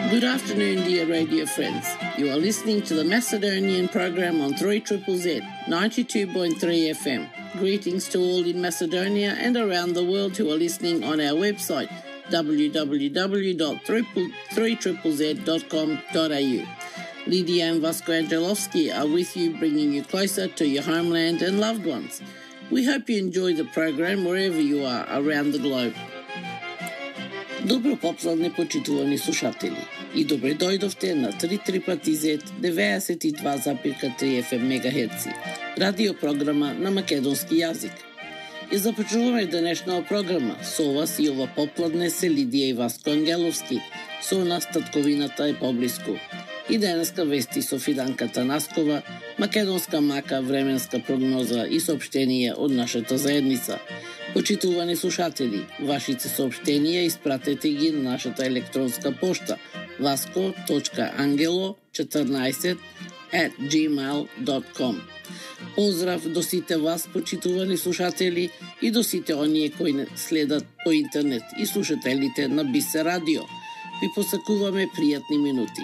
Good afternoon, dear radio friends. You are listening to the Macedonian program on 3ZZZ 92.3 FM. Greetings to all in Macedonia and around the world who are listening on our website www.3ZZZ.com.au. Lydia and Vasco Angelovski are with you, bringing you closer to your homeland and loved ones. We hope you enjoy the program wherever you are around the globe. Добро попзалне, почитувани слушатели, и добре дојдовте на 3ZZZ 92,3 FM мегахерци, радиопрограма на македонски јазик. И започнуваме денешната програма со вас и ова попладне се Лидија и Васко Ангеловски, со нас татковината е поблиску. И денеска вести со Фиданка Танаскова, македонска мака, временска прогноза и соопштенија од нашата заедница. Почитувани слушатели, вашите соопштенија испратете ги на нашата електронска пошта vasco.angelo14@gmail.com. Поздрав до сите вас, почитувани слушатели, и до сите оние кои не следат по интернет и слушателите на Бисе радио. Ви посакуваме пријатни минути.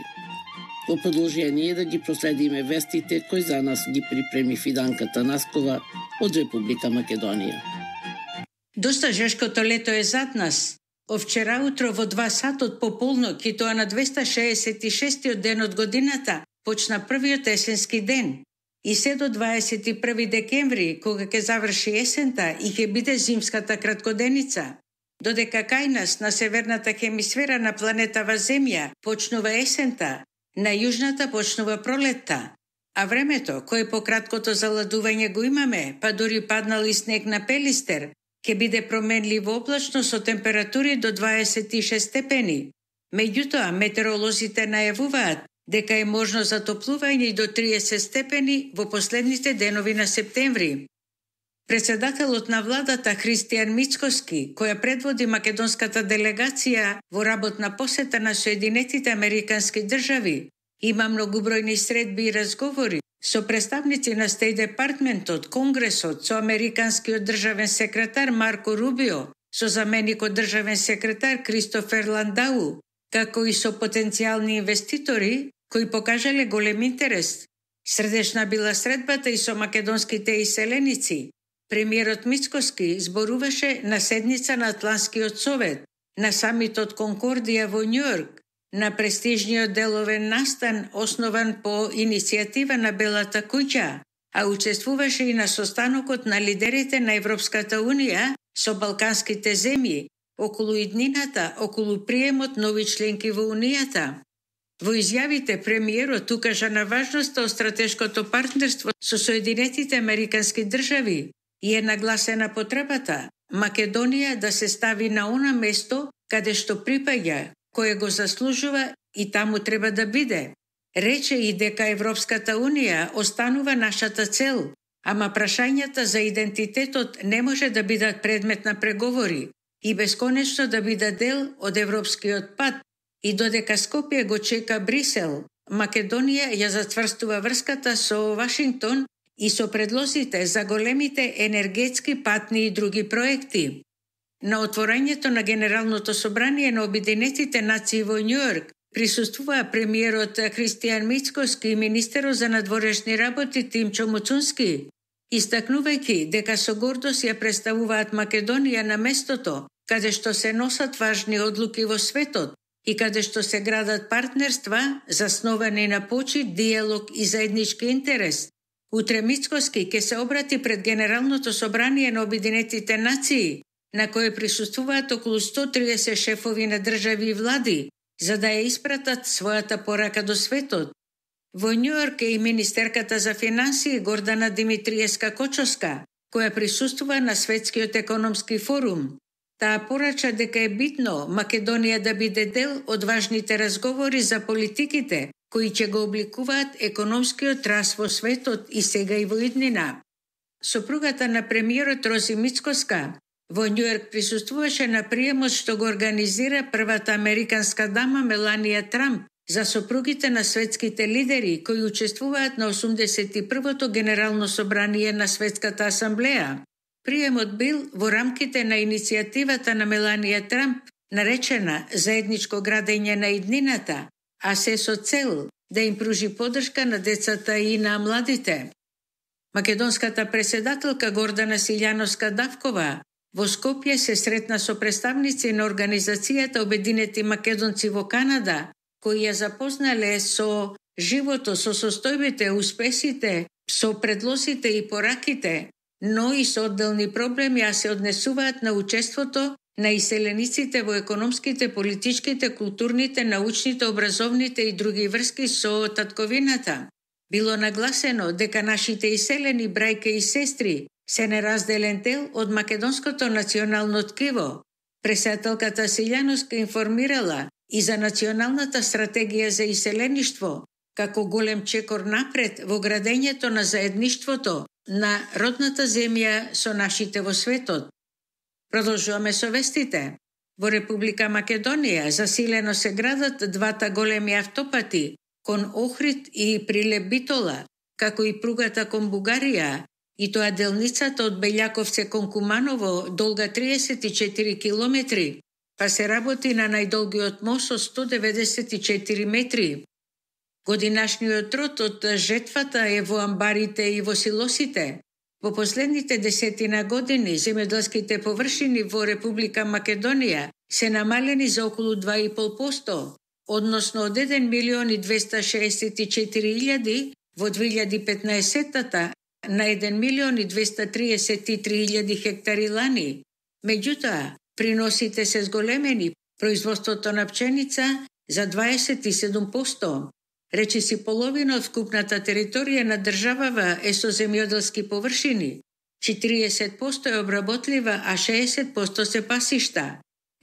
Во продолжение да ги проследиме вестите кои за нас ги припреми Фиданка Танаскова од Република Македонија. Доста жешкото лето е зад нас. Овчера утро во 2 сатот пополнок и тоа на 266-тиот ден од годината почна првиот есенски ден. И се до 21 декември, кога ќе заврши есента и ќе биде зимската краткоденица. Додека кај нас на северната хемисфера на планетава Земја почнува есента, на јужната почнува пролетта. А времето, кое по краткото заладување го имаме, па дури паднал и снег на Пелистер, ќе биде променливо облачно со температури до 26 степени. Меѓутоа, метеоролозите најавуваат дека е можно затоплување и до 30 степени во последните денови на септември. Председателот на владата Христијан Мицкоски, која предводи македонската делегација во работна посета на Соединетите Американски држави, има многубројни средби и разговори со представници на Стејт Департментот, Конгресот, со американскиот државен секретар Марко Рубио, со заменикот државен секретар Кристофер Ландау, како и со потенцијални инвеститори кои покажале голем интерес. Средешна била средбата и со македонските иселеници. Премиерот Мицкоски зборуваше на седница на Атлантскиот совет, на самитот Конкордија во Њујорк, на престижниот деловен настан основан по иницијатива на Белата куќа, а учествуваше и на состанокот на лидерите на Европската унија со балканските земји околу иднината, околу приемот нови членки во унијата. Во изјавите премиерот укажа на важноста од стратешкото партнерство со Соединетите Американски држави и е нагласена потребата Македонија да се стави на она место каде што припаѓа, кое го заслужува и таму треба да биде. Рече и дека Европската унија останува нашата цел, ама прашањата за идентитетот не може да бидат предмет на преговори и бесконечно да бидат дел од европскиот пат. И додека Скопје го чека Брисел, Македонија ја затврстува врската со Вашингтон и со предлозите за големите енергетски, патни и други проекти. На отворањето на Генералното собрание на Обединетите нации во Њујорк присуствува премиерот Христијан Мицкоски и министерот за надворешни работи Тимчо Муцунски, истакнувајќи дека со гордост ја представуваат Македонија на местото каде што се носат важни одлуки во светот и каде што се градат партнерства засновани на почит, диалог и заеднички интерес. Утре Мицкоски ќе се обрати пред Генералното собрание на Обединетите нации, на кое присуствуваат околу 130 шефови на држави и влади, за да ја испратат својата порака до светот. Во Њујорк е и министерката за финансии Гордана Димитриевска-Кочоска, која присуствува на Светскиот економски форум. Таа порача дека е битно Македонија да биде дел од важните разговори за политиките кои ќе го обликуваат економскиот раст во светот и сега и во иднина. Сопругата на премиерот Рози Мицкоска во Њујорк присуствуваше на приемот што го организира првата американска дама Меланија Трамп за сопругите на светските лидери кои учествуваат на 81-то Генерално собрание на Светската асамблеја. Приемот бил во рамките на иницијативата на Меланија Трамп, наречена Заедничко градење на иднината, а се со цел да им пружи поддршка на децата и на младите. Македонската председателка Гордана Силјановска-Давкова во Скопје се сретна со представници на Организацијата Обединети македонци во Канада, кои ја запознале со животот, со состојбите, успесите, со предлозите и пораките, но и со одделни проблеми, а се однесуваат на учеството на иселениците во економските, политичките, културните, научните, образовните и други врски со татковината. Било нагласено дека нашите иселени брајке и сестри се неразделен дел од македонското национално ткиво. Председателката Силјановска информирала и за националната стратегија за иселеништво, како голем чекор напред во градењето на заедништвото на родната земја со нашите во светот. Продолжуваме со вестите. Во Република Македонија засилено се градат двата големи автопати кон Охрид и Прилеп Битола, како и пругата кон Бугарија, и тоа делницата од Белјаковце кон Куманово долга 34 километри, па се работи на најдолгиот мост со 194 метри. Годинашниот род од жетвата е во амбарите и во силосите. Во последните 10 години земјоделските површини во Република Македонија се намалени за околу 2,5%, односно од 1.264.000 во 2015 на 1.233.000 хектари лани. Меѓутоа, приносите се зголемени, производството на пченица за 27%. Речиси половина од вкупната територија на државава е со земјоделски површини. 40% е обработлива, а 60% се пасишта.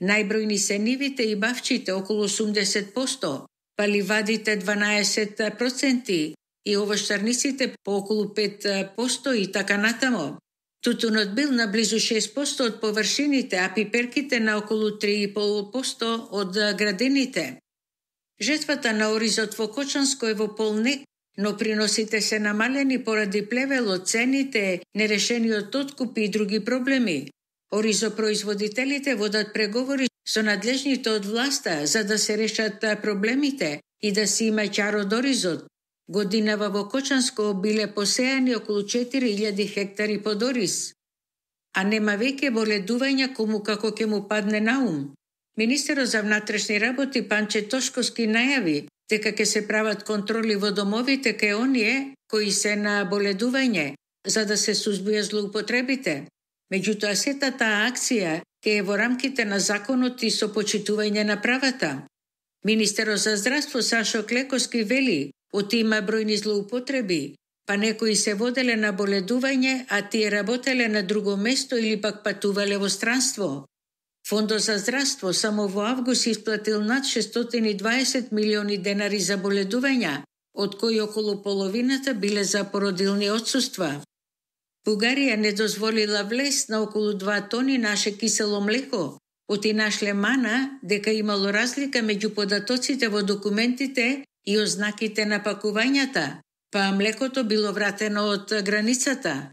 Најбројни се нивите и бавчите, околу 80%, па ливадите 12% и овощарниците по околу 5% и така натамо. Тутунот бил на близу 6% од површините, а пиперките на околу 3,5% од градините. Жетвата на оризот во Кочанско е во полнек, но приносите се намалени поради плевелот, цените, нерешениот откуп и други проблеми. Оризопроизводителите водат преговори со надлежните од власта за да се решат проблемите и да се има ќар од оризот. Годинава во Кочанско биле посејани околу 4.000 хектари под ориз. А нема веќе боледувања кому како ќе му падне на ум. Министерот за внатрешни работи Панче Тошковски најави дека ќе се прават контроли во домовите кај оние кои се на боледување, за да се сузбија злоупотребите. Меѓутоа, сета таа акција ќе е во рамките на законот и со почитување на правата. Министерот за здравство Сашо Клековски вели, оти има бројни злоупотреби, па некои се воделе на боледување, а тие работеле на друго место или пак патувале во странство. Фондот за здравство само во август исплатил над 620 милиони денари за боледувања, од кои околу половината биле за породилни отсуства. Бугарија не дозволила влез на околу 2 тони наше кисело млеко, оти нашле мана дека имало разлика меѓу податоците во документите и ознаките на пакувањата, па млекото било вратено од границата.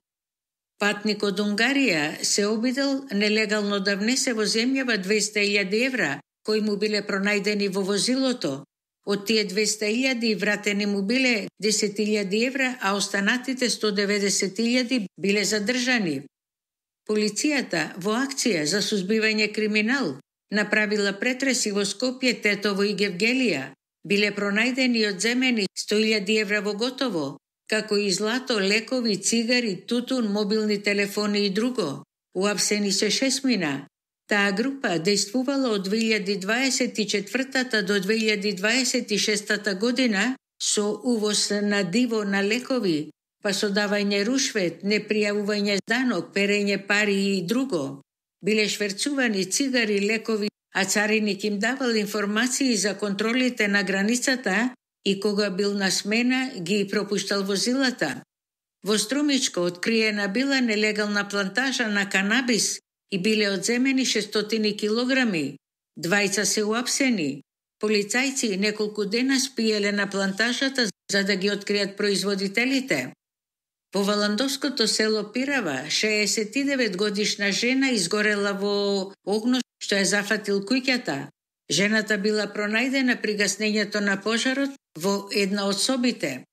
Патник од Унгарија се обидел нелегално да внесе во земјава 200.000 евра, кои му биле пронајдени во возилото. Од тие 200.000 вратени му биле 10.000 евра, а останатите 190.000 биле задржани. Полицијата во акција за сузбивање криминал направила претреси во Скопје, Тетово и Гевгелија. Биле пронајдени и одземени 100.000 евра во готово, како и злато, лекови, цигари, тутун, мобилни телефони и друго. Уапсени се 6 Таа група дејствувала од 2024 до 2026 година со увоз на диво на лекови, па со давање рушвет, непријавување данок, перење пари и друго. Биле шверцувани цигари, лекови, а цариник им давал информации за контролите на границата и кога бил на смена ги пропуштал возилата. Во Струмичко откриена била нелегална плантажа на канабис и биле одземени 600 килограми. Двајца се уапсени. Полицајци неколку дена спиеле на плантажата за да ги откријат производителите. Во Валандовското село Пирава, 69 годишна жена изгорела во огно што ја зафатил куќата. Жената била пронајдена при гаснењето на пожарот во една од собите.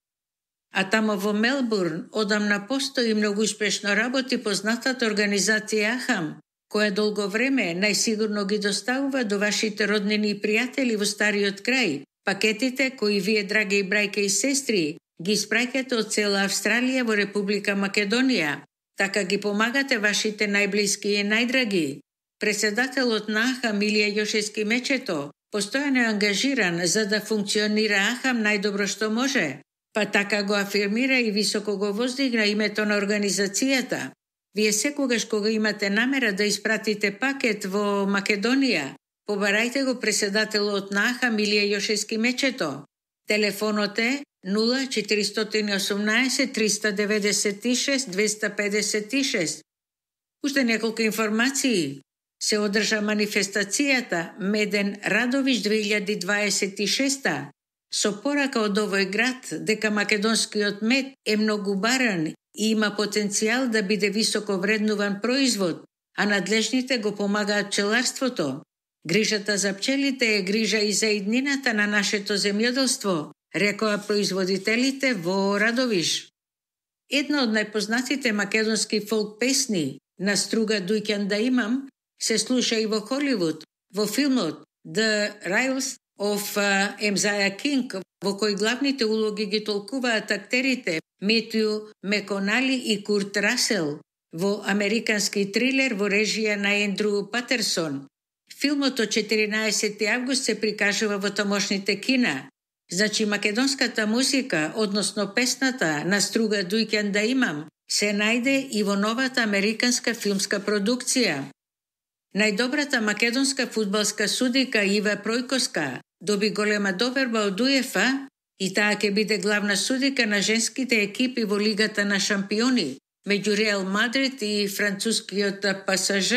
А тамо во Мелбурн одамна постои многу успешно работи познатата организација АХАМ, која долго време најсигурно ги доставува до вашите роднини и пријатели во стариот крај пакетите кои вие, драги брајке и сестри, ги испраќате од цела Австралија во Република Македонија. Така ги помагате вашите најблиски и најдраги. Председателот на АХАМ Илија Јошевски Мечето постојано е ангажиран за да функционира АХАМ најдобро што може, па така го афирмира и високо го воздигна името на организацијата. Вие секогаш кога имате намера да испратите пакет во Македонија, побарајте го председателот на АХАМ Илија Јошевски Мечето. Телефонот е 0418 396 256. Уште неколку информации. Се одржа манифестацијата Меден Радовиш 2026 со порака од овој град дека македонскиот мед е многу баран и има потенцијал да биде високо вреднуван производ, а надлежните го помагаат пчеларството. Грижата за пчелите е грижа и за иднината на нашето земјоделство, рекоа производителите во Радовиш. Една од најпознатите македонски фолк песни, На струга дуќан да имам, се слуша и во Холивуд, во филмот The Riles of Емзаја Кинг, во кој главните улоги ги толкуваат актерите Метју Меконали и Курт Расел, во американски трилер во режија на Ендру Патерсон. Филмот од 14 август се прикажува во тамошните кина. Значи македонската музика, односно песната На струга дуќан да имам, се најде и во новата американска филмска продукција. Најдобрата македонска фудбалска судика Ива Пројковска доби голема доверба од УЕФА и таа ќе биде главна судика на женските екипи во Лигата на шампиони меѓу Реал Мадрид и францускиот ПСЖ.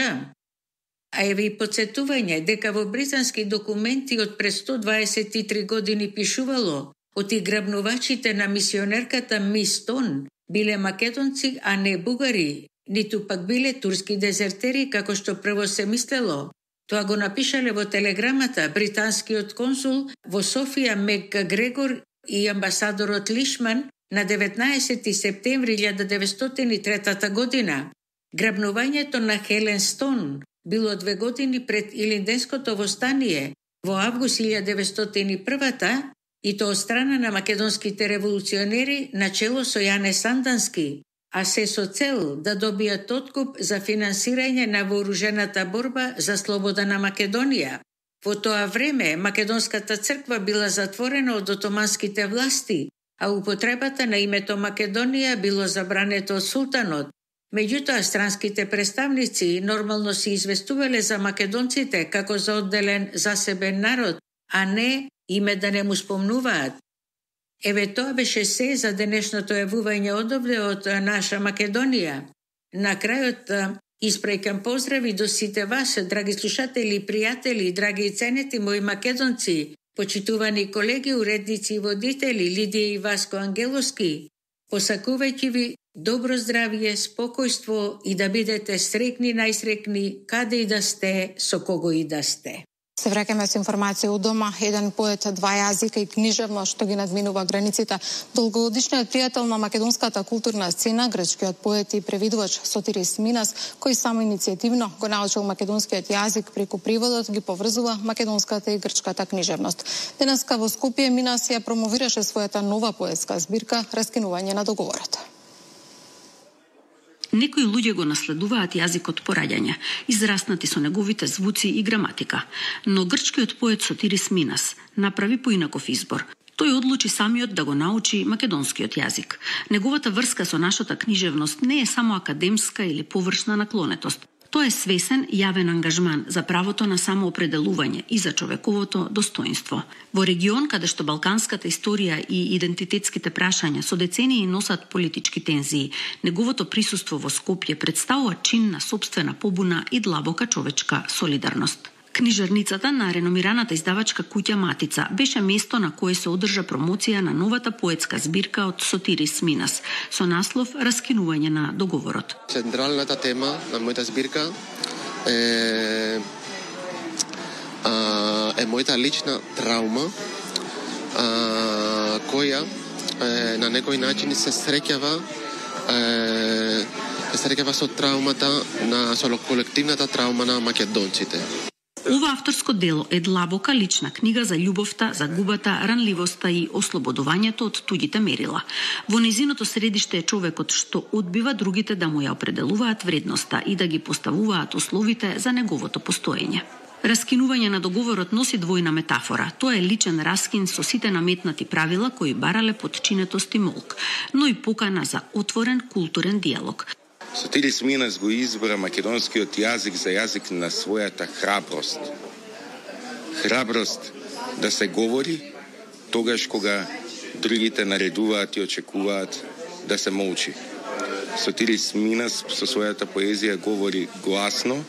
А еве и подсетување дека во британски документи од пред 123 години пишувало отиграбнувачите на мисионерката Мис Тон биле македонци, а не бугари, ниту пак биле турски дезертери, како што прво се мислело. Тоа го напишале во телеграмата британскиот консул во Софија Мек Грегор и амбасадорот Лишман на 19 септември 1903 година. Грабнувањето на Хелен Стон било 2 години пред Илинденското востание во август 1901 и тоа од страна на македонските револуционери начело со Јане Сандански, а се со цел да добијат откуп за финансирање на вооружената борба за слобода на Македонија. Во тоа време македонската црква била затворена од отоманските власти, а употребата на името Македонија било забрането од султанот. Меѓутоа, странските представници нормално се известувале за македонците како за одделен засебен народ, а не име да не му спомнуваат. Еве тоа беше се за денешното јавување одовде од наша Македонија. На крајот испраќам поздрави до сите вас, драги слушатели, пријатели, драги и ценети мои македонци, почитувани колеги, уредници и водители Лидија и Васко Ангеловски, посакувајќи ви добро здравје, спокојство и да бидете среќни, најсреќни, каде и да сте, со кого и да сте. Се враќаме со информација од дома. Еден поет, 2 јазика и книжевно што ги надминува границите. Долгогодишниот пријател на македонската културна сцена, грчкиот поет и превидувач Сотирис Минас, кој само иницијативно го научил македонскиот јазик преку преводот, ги поврзува македонската и грчката книжевност. Денеска во Скопје Минас ја промовираше својата нова поетска збирка Раскинување на договорот. Некои луѓе го наследуваат јазикот по раѓање, израснати со неговите звуци и граматика, но грчкиот поет Сотирис Минас направи поинаков избор. Тој одлучи самиот да го научи македонскиот јазик. Неговата врска со нашата книжевност не е само академска или површна наклонетост. Тоа е свесен јавен ангажман за правото на самоопределување и за човековото достоинство. Во регион каде што балканската историја и идентитетските прашања со децении носат политички тензии, неговото присуство во Скопје представува чин на сопствена побуна и длабока човечка солидарност. Книжарницата на реномираната издавачка куќа Матица беше место на кое се одржа промоција на новата поетска збирка од Сотирис Минас со наслов Раскинување на договорот. Централната тема на мојата збирка е мојата лична траума, која на некој начин се среќава со траумата со колективната траума на македонците. Ова авторско дело е длабока лична книга за љубовта, загубата, ранливоста и ослободувањето од туѓите мерила. Во незиното средиште е човекот што одбива другите да му ја определуваат вредноста и да ги поставуваат условите за неговото постоење. Раскинување на договорот носи двојна метафора. Тоа е личен раскин со сите наметнати правила кои барале подчинетост и молк, но и покана за отворен културен диалог. Сотирис Минас го избра македонскиот јазик за јазик на својата храброст. Храброст да се говори тогаш кога другите наредуваат и очекуваат да се молчи. Сотирис Минас со својата поезија говори гласно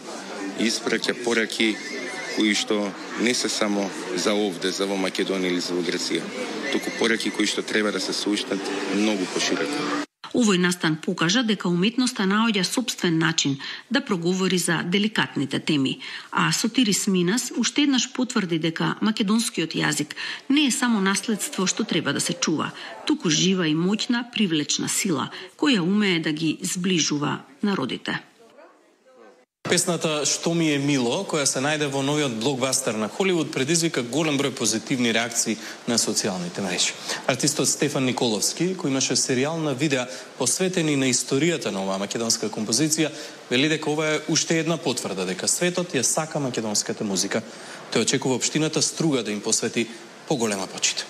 и испраќа пораки кои што не се само за овде, за во Македонија или за во Грција, туку пораки кои што треба да се слушнат многу пошироко. Овој настан покажа дека уметноста наоѓа сопствен начин да проговори за деликатните теми, а Сотирис Минас уште еднаш потврди дека македонскиот јазик не е само наследство што треба да се чува, туку жива и моќна привлечна сила која умее да ги зближува народите. Песната "Што ми е мило", која се најде во новиот блокбастер на Холивуд, предизвика голем број позитивни реакции на социјалните мрежи. Артистот Стефан Николовски, кој имаше серијал на видеа посветени на историјата на оваа македонска композиција, вели дека ова е уште една потврда дека светот ја сака македонската музика. Тој очекува општината Струга да им посвети поголема почит.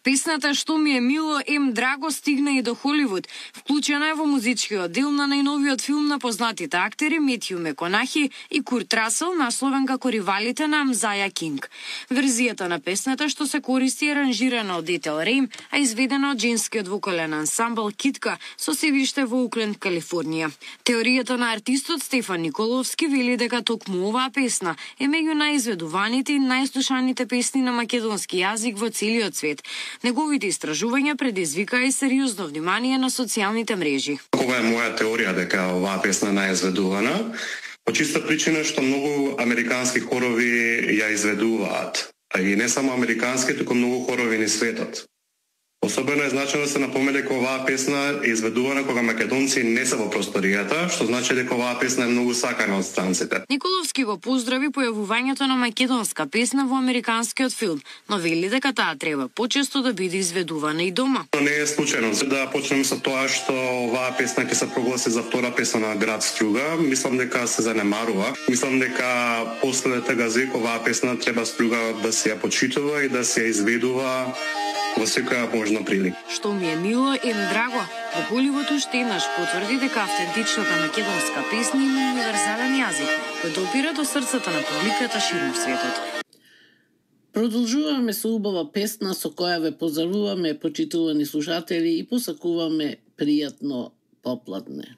Песната "Што ми е мило, ем драго" стигна и до Холивуд. Вклучена е во музичкиот дел на најновиот филм на познатите актери Метју Меконахи и Курт Расел, насловен како "Ривалите на Мзаја Кинг". Верзијата на песната што се користи е аранжирана од Етел Рейм, а изведена од женскиот вокален ансамбл Китка со седиште во Окленд, Калифорнија. Теоријата на артистот Стефан Николовски вели дека токму оваа песна е меѓу најизведуваните и најслушаните песни на македонски јазик во целиот свет. Неговите истражувања предизвикаа и сериозно внимание на социјалните мрежи. Ова е моја теорија дека оваа песна не е изведувана, по чиста причина што многу американски хорови ја изведуваат. И не само американски, туку многу хорови низ светот. Особено е значено да се напомне дека оваа песна е изведувана кога македонци не се во просторијата, што значи дека оваа песна е многу сакана од странците. Николовски го поздрави појавувањето на македонска песна во американскиот филм, но вели дека таа треба почесто да биде изведувана и дома. Не е случајно да почнеме со тоа што оваа песна ќе се прогласи за втора песна на град Струга. Мислам дека се занемарува. Мислам дека после Тагазик оваа песна треба Струга да се ја почитува и да се ја изведува во секоја можна прилика. Што ми е мило, ем драго. Во Холивуд уште еднаш потврди дека автентичната македонска песна има универзален јазик, кој допира до срцата на публиката ширум светот. Продолжуваме со убава песна со која ве поздравуваме, почитувани слушатели, и посакуваме пријатно попладне.